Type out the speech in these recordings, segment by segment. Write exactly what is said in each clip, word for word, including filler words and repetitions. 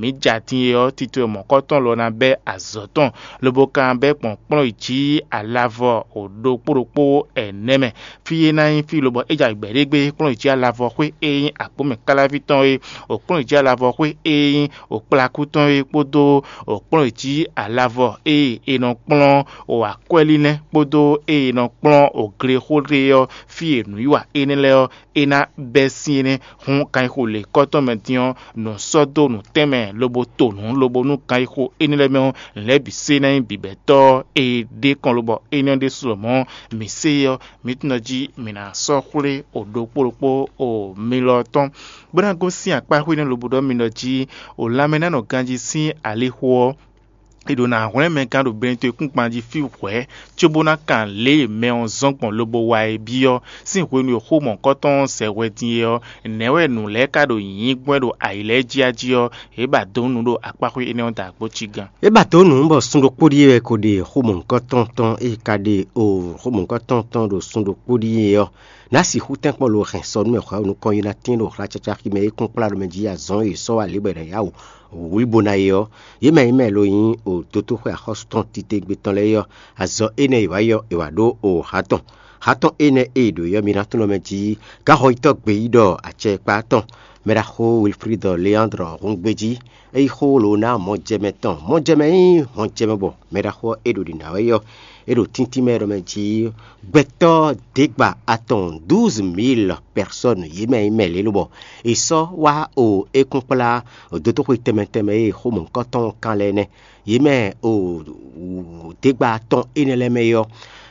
Mǐ ja din e ɔ́, tito e mɔ̌kɔtɔn lɔ ná bɛ́ azɔ̌ tɔn, lobo ka bɛ́ gbɔn kplɔ́n yi jí alavɔ ɖokpó ɖokpó ɛnɛ́ mɛ. Fí e ná nyí fí lobɔ é ja gbɛ̌ ɖé gbé kplɔ́n yi jí alavɔ xwé e nyí akpɔ́mɛ káláví tɔn é, ɖo kplɔ́n yi jí alavɔ xwé e nyí ɖo kplakú tɔn é kpódó ɖo kplɔ́n yi jí alavɔ e è nɔ kplɔ́n ɖo akwɛ́línɛ́ kpódó e è nɔ kplɔ́n ɖo glexó ɖe ɔ́, fí e nǔwiwa énɛ́ lɛ́ɛ ɔ́, é ná bɛ́ sín énɛ́. Hǔn kan e xo lě kɔ́tɔn mɛ din ɔ́, nǔ sɔ́ dó nǔtɛnmɛ lobo to nǔ lobo nú kan e xo énɛ́ lɛ́ɛ mɛ ɔ́, lɛ̌ bǐ se ná nyí bǐbɛ́tɔ́ e ɖe kɔn lobɔ énɛ́ ɔ́ ɖésú lɔmɔ̌ mǐ se é ɔ́, mǐ tunwun jí mǐ ná sɔ́ xwlé ɖokpó ɖokpó o mi lɔ tɔn, bó ná gosín akpá xwé nɛ́ lobo ɖɔ mi ɖɔ jí o lanmɛ ná nɔ ganjí sín alixo ɔ́, è ɖǒ ná hwlɛ́n mɛ gán ɖo Benito e kúnkpan jí fí hwɛ̌, cóbó ná kan lě e mɛ ɔ́ zɔ́n gbɔn lobo wa é byɔ́. Sín hwenu e xó mɔ̌hunkɔtɔn ɔ́ zɛ hwɛ din é ɔ́, nɛ̌ wɛ nǔ lɛ́ɛ ka ɖo nyǐnyí gbɔn ɖo ayǐ lɛ́ɛ jí a jí ɔ́, yě ba dǒ nǔ ɖo akpáxwé énɛ́ ɔ́ da gbo cí gán. É ba dǒ nǔ bɔ sun ɖokpó ɖíe wɛ ko ɖe xó mɔ̌hunkɔtɔn tɔn e ka ɖe o xó mɔ̌hunkɔtɔn tɔn ɖo sun ɖokpó ɖíe ɔ́, ná sixú tɛ́nkpɔ́n lo hɛn sɔ nú mɛ hwɛ̌ nukɔn yi ná tín ɖo xlácácáxi mɛ e kún kplá ɖo mɛ jí azɔn e sɔ́ wá lě bɔ è nǎ yá wǔ wlí bó ná é ɔ́, yě mɛ nyí mɛ lo nyí o dotóxwé axɔ́sú tɔn titewungbe tɔn lɛ́ɛ é ɔ́, azɔn énɛ́ e è wǎ yi ɔ́, è wǎ ɖó o hǎ tɔn. Hǎ tɔn énɛ́ e è ɖǒ é ɔ́, mi ná tunwun mɛ jí gáxɔyítɔ́ gbeyíɖɔ acɛkpá tɔn mɛɖaxó Wilfríd Leandre Húngbéjí, é yí xó lǒ ná mɔjɛmɛ tɔn. Mɔjɛmɛ nyí mɔjɛmɛ bɔ mɛɖaxó ɔ́ é ɖo ɖǐ ná wɛ é ɔ́, é ɖo tíntín mɛ ɖɔ mɛ jí gbɛtɔ́ děgba atɔn douze mille personnes yě mɛ nyí mɛ lě lobɔ è sɔ́ wá o é kún kplá dotóxwe tɛnmɛ tɛnmɛ e xó mɔ̌hunkɔtɔn kan lɛ́ɛ nɛ́. Yě mɛ o děgba atɔn énɛ́ lɛ́ɛ mɛ é ɔ́,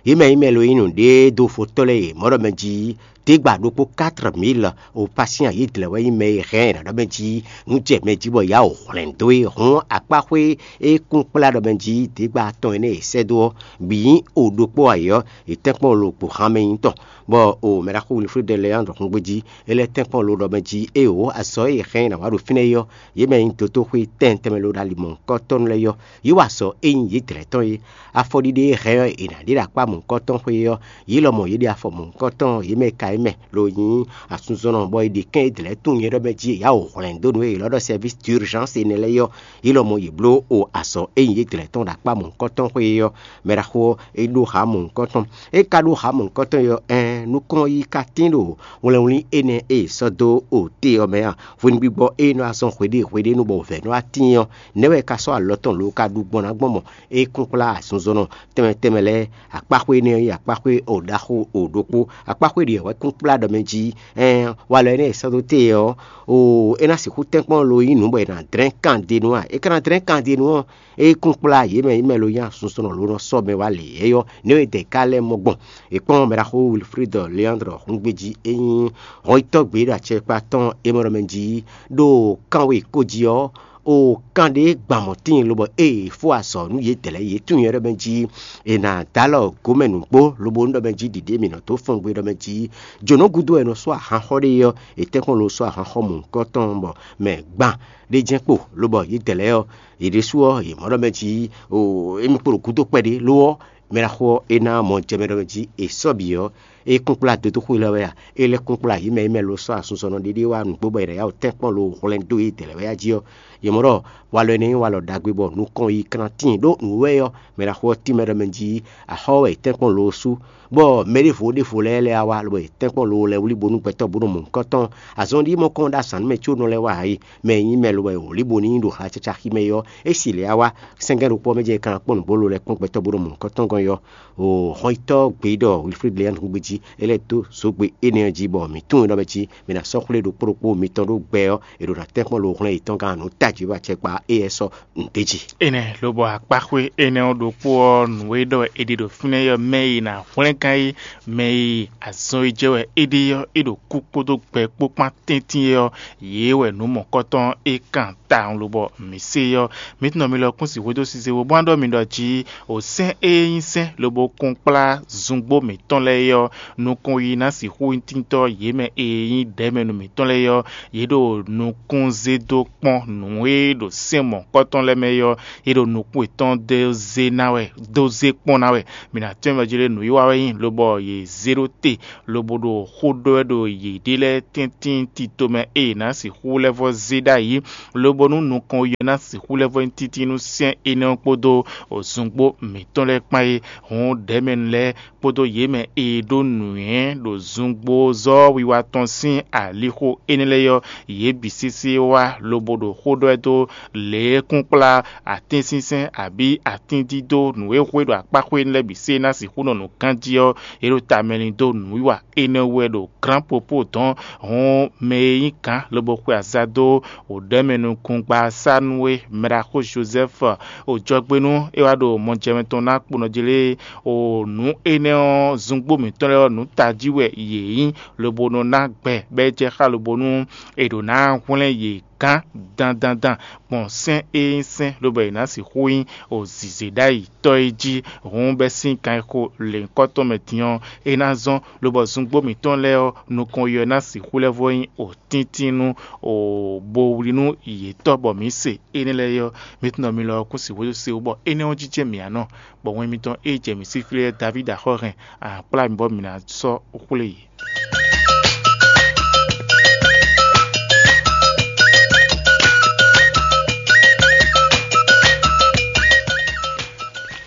yě mɛ nyí mɛ lo nyí nǔɖé dó fotɔ́ lɛ́ɛ e mɔ̌ ɖɔ mɛ jí děgba ɖokpó quatre mille o pasiyan yě dlɛ̌ wɛ nyí mɛ e hɛn è nǎ ɖɔ mɛ jí nú jɛ mɛ jí bɔ yǎ o hwlɛ̌n dó é hɔn akpáxwé e kún kplá ɖɔ mɛ jí dǐgba atɔn énɛ́ e sɛ́ dó ɔ́ bǐ nyí o ɖokpó ayǐ ɔ́, è tɛ́nkpɔ́n lo gbo han mɛ nyí tɔn, bɔ o mɛɖaxó Wilfríd Leandre Húngbéjí é lɛ́ tɛ́nkpɔ́n lo ɖɔ mɛ jí éeǒ azɔ̌ e è hɛn ná wá ɖo fínɛ́ é ɔ́, yě mɛ nyí dotóxwé tɛn tɛnmɛ lo ɖo alimɔ̌hunkɔtɔn lɛ́ɛ ɔ́, yě wa azɔ̌ e nyí yě dlɛ̌ tɔn é. Afɔɖiɖe e hɛn ɔ́ è nǎ ɖe ɖo akpá mɔ̌hunkɔtɔn xwé ɔ́, yě lɔmɔ̌ yě ɖe afɔ mɔ̌hunkɔtɔn, yě mɛ ka é mɛ lo nyí asúnzɔnnɔ, bɔ è ɖe kɛ́n é dlɛ̌ tunwun nyɛ ɖɔ mɛ jí è yá wǒ hwlɛ̌n dó nǔ e è lɔ́ ɖɔ sɛ́vísi d'urgence énɛ́ lɛ́ɛ é ɔ́, yě lɔmɔ̌ yě bló o azɔ̌ e nyí yě dlɛ̌ tɔn ɖo akpá mɔ̌hunkɔtɔn xwé é ɔ́, mɛ ɖaxó ɔ́ é ɖó hǎ mɔ̌hunkɔtɔn. É ka ɖó hǎ mɔ̌hunkɔtɔn é ɔ́, ɛɛn nukɔn yí ka tín ɖo wlɛnwlí énɛ́ e è sɔ́ dó o te ɔ́ mɛ a? Hwenu gbígbɔ e nɔ azɔn hweɖé hweɖé nu bɔ vɛ̌ nɔ wá tíin ɔ́, nɛ̌ wɛ è ka sɔ́ alɔ tɔn lo ka ɖu gbɔn ná gbɔn mɔ é kún kplá azinzɔnnɔ tɛnmɛ tɛnmɛ lɛ́ɛ? Akpáxwé énɛ́ ɔ́ nyí akpáxwé o ɖaxó o ɖokpó. Akpáxwé ɖě wɛ kún kplá ɖɔ mɛ jí ɛɛn walɔ énɛ́ e sɔ́ dó te ɔ́, o é ná sixú tɛ́nkpɔ́n lo nyí nǔ bɔ è nǎ dlɛ́n kandenu a? É ka ná dlɛ́n kandenu ɔ́, é kún kplá yě mɛ yě mɛ lo nyí azinzɔnnɔ lo nɔ sɔ́ mɛ wá lě yɛ́yɔ́ nɛ̌ e dɛ ka lɛ́ mɔ gbɔn. È kpɔ́n mɛɖaxó Wilfríd Leandre Húngbéjí, é nyí hɔnyitɔ́ gbě ɖo acɛkpa tɔn e mɔ ɖɔ mɛ jí ɖo kanwe ko jí ɔ́, o kan ɖé gban mɔ̌ tíin lobɔ ée è fó azɔ̌ nú yědɛɛ lɛ́ɛ yě tunwun nyɛ ɖɔ mɛ jí è nǎ dó alɔ gǒmɛ nǔgbó lobo nú ɖɔ mɛ jí ɖiɖě mǐ nɔ dó fɔngbe ɖɔ mɛ jí jǒnɔ gúdo wɛ è nɔ sú ahan xɔ ɖe é ɔ́, è tɛ́nkpɔ́n lo sú ahan xɔ mɔ̌hunkɔtɔn bɔ mɛ gban ɖé jɛ́n kpo lobɔ yědɛɛ lɛ́ɛ ɔ́, yě ɖésú ɔ́, yě mɔ ɖɔ mɛ jí o émí kpo ɖo gúdo kpɛɖé lo ɔ́, mɛ ɖaxó ɔ́, é ná mɔ jɛ mɛ ɖɔ mɛ jí è sɔ́ bǐ ɔ́, é kún kplá dodóxó élɔ́ wɛ a? É lɛ́ kún kplá yě mɛ e mɛ lo sɔ́ asunzɔnnɔ ɖéɖé wá nǔgbó bɔ è nǎ yá wǔ tɛ́nkpɔ́n lo hwlɛ́n dó yědɛɛ lɛ́ɛ wɛ a jí ɔ́, yě mɔ ɖɔ walɔ énɛ́ nyí walɔ ɖagbe bɔ nukɔn yi kán tíin ɖó nǔ wɛ ɔ́, mɛ ɖaxó ɔ́ tínmɛ ɖɔ mɛ jí axɔ́ wɛ è tɛ́nkpɔ́n lo sú, bɔ mɛ ɖěvo ɖěvo lɛ́ɛ lɛ́ wá lobɔ è tɛ́nkpɔ́n lo lɛ́ wlí bónú gbɛtɔ́ bó nɔ mɔ nǔkɔn tɔn. Azɔn ɖíe mɔ kɔn ɖo azǎn mɛ có nɔ lɛ́ wá ǎ é, mɛ e nyí mɛ lobɔ è wlí bónú nyí ɖo hacacáxi mɛ é ɔ́, é si lě wá wá sɛ́ngɛ́ ɖokpó ɔ́ mɛ jɛ́n è ka ná kpɔ́n nǔgbó lo lɛ́ kpɔ́n gbɛtɔ́ bó nɔ mɔ nǔkɔn tɔn gɔ́n é ɔ́, o hɔnyitɔ́ gbeyíɖɔ Wilfríd Léandre Húngbéjí é lɛ́ dó zǒgbe énɛ́ ɔ́ jí bɔ mǐ tunwun ɖɔ mɛ jí mǐ ná sɔ́ xwlé ɖokpó ɖokpó mitɔn ɖó gbɛ ɔ́, è ɖo ná tɛ́nkpɔ́n lo hwlɛ́n yětɔn gán nǔ tají wá cɛkpa éyɛ́ sɔ́ nǔɖé jí. Énɛ́ lobɔ akpáxwé énɛ́ ɔ́ ɖokpó ɔ́, nǔ e ɖɔ wɛ è ɖe ɖo fínɛ́ ɔ́, mɛ e è nǎ hwlɛ́n gán é, mɛ e azɔn e jɛ wɛ é ɖe ɔ́, é ɖo kú kpódó gbɛ kpó kpán tɛ́ntin é ɔ́, yě wɛ nǔ mɔ̌kɔtɔn é kan tawun lobɔ mǐ se ɔ́, mǐ tunɔ mi lɔ kún si hwedó size wo bó ná ɖɔ mi ɖɔ jí o sɛ́n e nyí sɛ́n lobo kún kplá zungbó mǐtɔn lɛ́ɛ é ɔ́, Nukɔn yi ná sixú nyí tíntɔ́ yě mɛ e nyí ɖɛ̌mɛnu mǐtɔn lɛ́ɛ ɔ́, yě ɖo nukún zé dó kpɔ́n nǔ e ɖo sɛ́n mɔ̌kpɔ́tɔ́ lɛ́ɛ mɛ é ɔ́, yě ɖo nukún yětɔn dó zé ná wɛ, dó zé kpɔ́n ná wɛ. Mǐ ná tɛ́nmɛ jí ɖé nǔwiwa wɛ nyí, lobɔ yě zé ɖó te, lobo ɖo xó ɖɔ wɛ ɖo yěɖée lɛ́ɛ tɛ́ntin tito mɛ e yě ná sixú lɛ́ vɔ́ zé ɖ'ayǐ, lobo nú nukɔn yi ɔ́ ná sixú lɛ́ vɔ́ nyí títí nú sɛ́n énɛ́ ɔ́ kpódó zungbó mǐtɔn lɛ́ɛ kpán é. Hǔn ɖɛ̌mɛnu lɛ́ɛ kpódó yě mɛ e ɖó nǔnywɛ́ ɖo zungbózɔ́ wiwa tɔn sín alixo énɛ́ lɛ́ɛ ɔ́, yě bǐ sésé wá lobo ɖo xó ɖɔ wɛ dó lě e kún kplá atínsínsɛ́n abǐ atíndídó nǔ e hwe ɖo akpáxwé lɛ́ɛ bǐ sé ná sixú nɔ nǔ ganjí ɔ́, yě ɖo tamɛ lin dó nǔwiwa énɛ́ wú wɛ ɖo glǎnpopó dɔn. Hǔn mɛ e nyí gǎn lobo xwe aza dó wǒ ɖɔ mɛ nukúngbasánú e mɛɖaxó Jozɛ́fu ojɔgbénu é wá ɖo mɔjɛmɛ tɔn ná kponɔ jí lé o nǔ énɛ́ ɔ́, zungbó mǐtɔn lɛ́ɛ ɔ́, nǔ tají wɛ yě nyí, lobo nɔ ná gbɛ bɔ é jɛ xá lobo nú è ɖǒ ná hwlɛ́n yě gán dandandan gbɔn sɛ́n e nyí sɛ́n lobo è nǎ sixú nyí o zǐzé ɖ'ayǐ tɔ́ é jí. Hǔn bɛ́ sín kan e xo lěhunkɔtɔn mɛ din ɔ́, é ná zɔ́n, lobɔ zungbó mǐtɔn lɛ́ɛ ɔ́, nukɔn yi ɔ́ ná sixú lɛ́ vɔ́ nyí o tíntín nú o bo wlí nú yětɔn bɔ mǐ se énɛ́ lɛ́ɛ é ɔ́, mi tunwun ɖɔ mi lɔ ɔ́ kún sixú se wú bɔ énɛ́ ɔ́ jijɛ mǐ ǎ nɔ, bɔ wɛn mitɔn e jɛ mǐ sín fí lɛ́ɛ Davídi axɔ́ hɛn a kplá mi bɔ mǐ ná sɔ́ xwlé yě.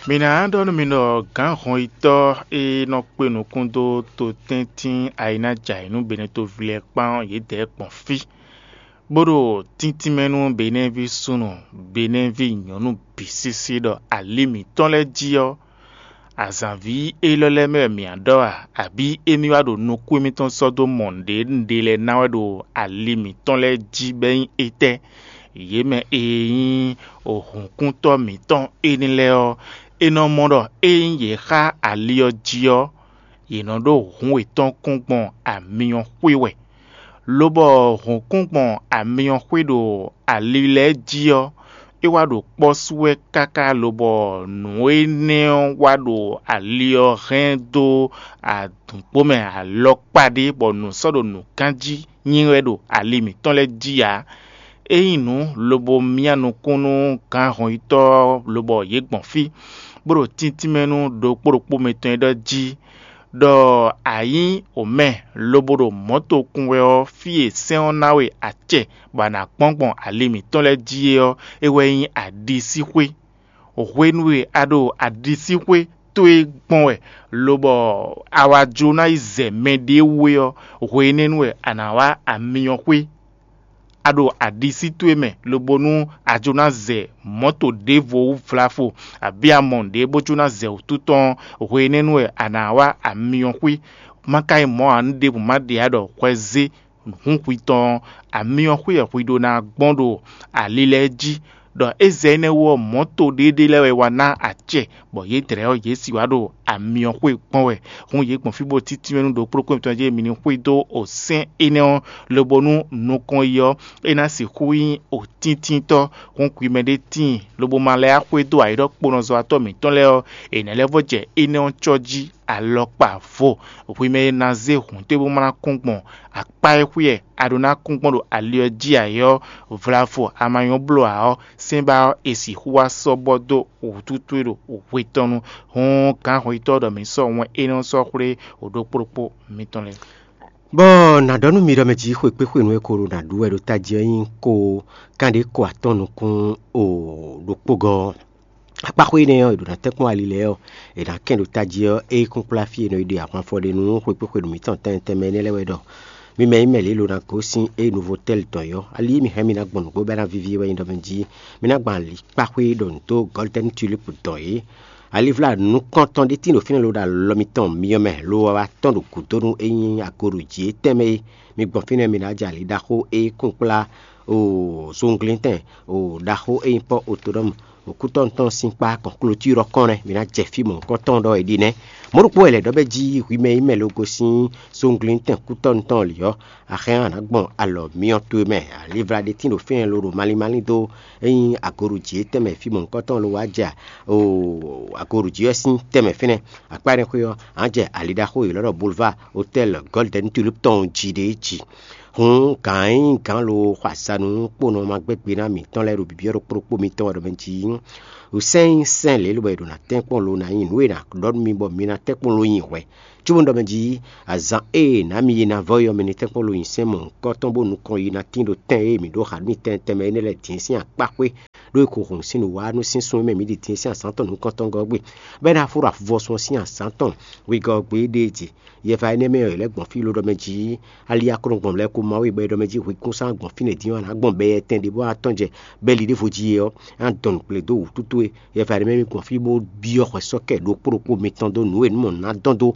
Mi ná ɖɔ nú mi ɖɔ gǎn hɔnyitɔ́ e nɔ kpé nukún dó to tɛ́ntin ayǐnájǎyǐnú Benetoví lɛ́ɛ kpán ɔ́, yědɛɛ gbɔn fí, bó ɖo tíntín mɛ nú Benɛ́ví súnnu, Benɛ́ví nyɔ̌nu bǐ sísí ɖɔ ali mǐtɔn lɛ́ɛ jí ɔ́, azǎnví élɔ́ lɛ́ɛ mɛ wɛ mǐ ná ɖɔ a, abǐ émí wá ɖo nukún émítɔn sɔ́ dó mɔ nǔɖé nǔɖé lɛ́ɛ ná wɛ ɖo ali mǐtɔn lɛ́ɛ jí bɔ é nyí étɛ́? Yě mɛ e nyí hǔnkúntɔ́ mǐtɔn énɛ́ lɛ́ɛ ɔ́, è nɔ mɔ ɖɔ ényí yě xá ali ɔ́ jí ɔ́, yě nɔ ɖó hǔn yětɔn kún gbɔn amyɔ xwé wɛ, lobɔ hǔn kún gbɔn amyɔ xwé ɖo ali lɛ́ɛ jí ɔ́, é wá ɖo kpɔ́ sú wɛ káká lobɔ nǔ énɛ́ ɔ́ wá ɖo ali ɔ́ hɛn dó adǔnkpo mɛ alɔkpa ɖé, bɔ nǔ sɔ́ ɖo nǔ ganjí nyí wɛ ɖo ali mǐtɔn lɛ́ɛ jí ǎ. É nyí nǔ lobo myá nukún nú gǎn hɔnyitɔ́ ɔ́, lobɔ yě gbɔn fí, bó ɖo tíntín mɛ nú ɖokpó ɖokpó mitɔn e ɖɔ jí ɖɔ a nyí omɛ lobo ɖo mɔ̌ tokun wɛ ɔ́, fí e sɛ́n ɔ́ ná we acɛ bɔ a nǎ kpɔ́n gbɔn ali mǐtɔn lɛ́ɛ jí é ɔ́, é wɛ nyí aɖisíxwé. Hwenu e a ɖo aɖisíxwé towe gbɔn wɛ, lobɔ a wá jló ná yi zɛ mɛɖée wú é ɔ́, hwe énɛ́ nu wɛ a nǎ wá amyɔxwé. A ɖo aɖisí towe mɛ, lobo nú a jló ná zɛ mɔ̌to ɖěvo wú vlafo, abǐ a mɔ nǔɖé bó jló ná zɛ wǔtu tɔn ɔ́, hwe énɛ́ nu wɛ a nǎ wá amyɔxwé. Má ka nyí mɔ̌ ǎ, nú ɖěbǔ má ɖe ǎ ɖɔ hwɛ zé hǔn hwi tɔn ɔ́, amyɔxwé wɛ hwi ɖó ná gbɔn ɖo ali lɛ́ɛ jí, ɖɔ é zɛ énɛ́ wú ɔ́, mɔ̌to ɖéɖé lɛ́ɛ wɛ wá ná acɛ, bɔ yědɛɛ ɔ́, yě sì wá ɖo amyɔxwé gbɔn wɛ. Hǔn yě gbɔn fí bó títí mɛ nú ɖokpó ɖokpó mitɔn jí mi ní xwedó o sɛ́n énɛ́ ɔ́, lobo nú nukɔn yi ɔ́, é ná sixú nyí o tíntítɔ́. Hǔn hwi mɛ ɖé tíin, lobo ma lɛ́ wá xwedó ayiɖɔkponɔzɔ́watɔ́ mǐtɔn lɛ́ɛ ɔ́, è nɛ̌ lɛ́ vɔ́ jɛ énɛ́ ɔ́ cɔ́ jí alɔkpa vo. Hwi mɛ e ná zé hǔn towe bó ma ná kún gbɔn akpá e xwíɛ a ɖó ná kún gbɔn ɖo ali ɔ́ jí ǎ é ɔ́, vlavo a ma nyɔ́ bló ǎ ɔ́, sɛ́nbá ɔ́, è sixú wá sɔ́ bɔ dó wǔtútú e ɖo hwe tɔn nu. Hǔn gǎn hɔnyitɔ́ ɖɔ mǐ sɔ́ wɛn énɛ́ ɔ́ sɔ́ xwlé wǒ ɖokpó ɖokpó mitɔn lɛ́ɛ. Bɔ nǎ ɖɔ nú mi ɖɔ mɛ jí xwekpéxwenu e ko ɖo nǎ ɖu wɛ ɖo tají ɔ́ nyí ko kanɖé ko atɔ́ɔ́n nukún o ɖokpógɔ́ ɔ́. Akpáxwé énɛ́ ɔ́, è ɖǒ ná tɛ́nkpɔ́n ali lɛ́ɛ ɔ́, è nǎ kɛn ɖo tají ɔ́, é kún kplá fí e è nɔ yi ɖe ahwan fɔ ɖe nú xwekpéxwenu mǐtɔn tɛnmɛ tɛnmɛ énɛ́ lɛ́ɛ wɛ ɖɔ: Mi mɛ e nyí mɛ lě e lo ná gosín é Novotɛ́li tɔn é ɔ́, ali e mǐ hɛn mì ná gbɔn nǔgbó bɔ é ná víví é wɛ nyí ɖɔ mɛ jí mi ná gbɔn alikpáxwé ɖɔ nǔ dó Gɔ́lidɛ́ni Tulípu dɔn é. Alivlá nukɔntɔn ɖé tíin ɖo fínɛ́ lo ɖo alɔ mitɔn myɔ mɛ lo wɛ wá tɔ́n ɖo gǔdo nú é nyí ago ɖo jǐ é tɛnmɛ é. Mi gbɔn fínɛ́ mi ná jɛ ali ɖaxó e kún kplá o zunglíntɛn o ɖaxó e nyí Pɔ́ Otonɔ́mu Kútɔ́nu tɔn sín kpá kɔn klotírɔ kɔn nɛ́, mi ná jɛ fí mɔ̌hunkɔtɔn ɖɔ è ɖi nɛ́. Mɔ̌ ɖokpó wɛ lɛ̌ ɖɔ bɛ́ jí hwi mɛ e nyí mɛ logo sín sónglíntɛn kútɔ́nu tɔn lǐ ɔ́, axɛ́ ɔ́, a nǎ gbɔn alɔ myɔ towe mɛ. Alivla ɖé tín ɖo fínɛ́ loɖo malín malín dó ényí agoɖují e tɛnmɛ fí mɔ̌hunkɔtɔn lo wá jɛ agoɖují ɔ́ sín tɛnmɛ fínɛ́. Akpá énɛ́ xwé ɔ́, a nǎ jɛ ali ɖaxó e è ylɔ́ ɖɔ Boulevard Hôtel Golden Tulip tɔn jí ɖé jí. Hǔn gǎn e nyí gǎn lo xɔ azǎn nú kponɔ ma gbɛ́ gbe ná mǐtɔn lɛ́ɛ ɖo bǐbí ɔ́ ɖokpó ɖokpó mitɔn wɛ ɖɔ mɛ jí. Sɛ́n nyí sɛ́n lě lobɔ è ɖo ná tɛ́nkpɔ́n lo ná nyi nǔ e è nǎ ɖɔ nú mi bɔ mi ná tɛ́nkpɔ́n lo nyi hwɛ. Cóbónú ɖɔ mɛ jí azǎn e è nǎ mi yi ná vɔ́ é ɔ́, mi ní tɛ́nkpɔ́n lo nyi sɛ́n mɔ̌hunkɔtɔn bó nukɔn yi ná tín ɖo tɛn e mǐ ɖó xa nú mitɛn tɛnmɛ énɛ́ lɛ́ɛ din sín akpá xwé, ɖó è ko hun sín nǔwá nú sín sun e mɛ mǐ ɖi din sín azǎn tɔn nukɔntɔn gɔ́ gbe, bɔ é ná fó ɖo avuvɔsun ɔ́ sín azǎn tɔn wegɔ́ ɔ́ gbe ɖée jí. Yɛfa énɛ́ mɛ ɔ́, è lɛ́ gbɔn fí ló ɖɔ mɛ jí ali akɔ́nɔgbɔn lɛ́ɛ ko má wé bɔ é ɖɔ mɛ jí hwekún sán gbɔn fínɛ́ dín ɔ́, a nǎ gbɔn bɛ tɛn ɖěbǔ atɔn jɛ bɛ́ li ɖěvo jí é ɔ́, é ná dɔn nǔ kplé dó wǔtú towe. Yɛfa énɛ́ mɛ mi gbɔn fí bó byɔ́ hwɛ sɔ́ kɛ ɖokpó ɖokpó mitɔn dó nǔ e nǔ mɔ nǎ dɔn dó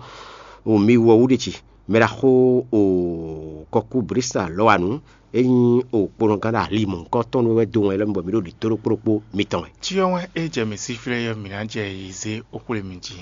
o mi wɔ wú ɖe jí. Mɛ ɖaxó o kɔkú Brista lɔ́ wa nǔ, é nyí o kponɔgán ɖo ali mɔ̌hunkɔtɔn nú wɛ dó wɛn lɛ́ɛ bɔ mi ɖo ɖi tó ɖokpó ɖokpó mitɔn wɛ. Cyɔ wɛn e jɛ mǐ sí flɛ́ ɔ́, mǐ ná jɛ yi zé ó xwlé mi jí.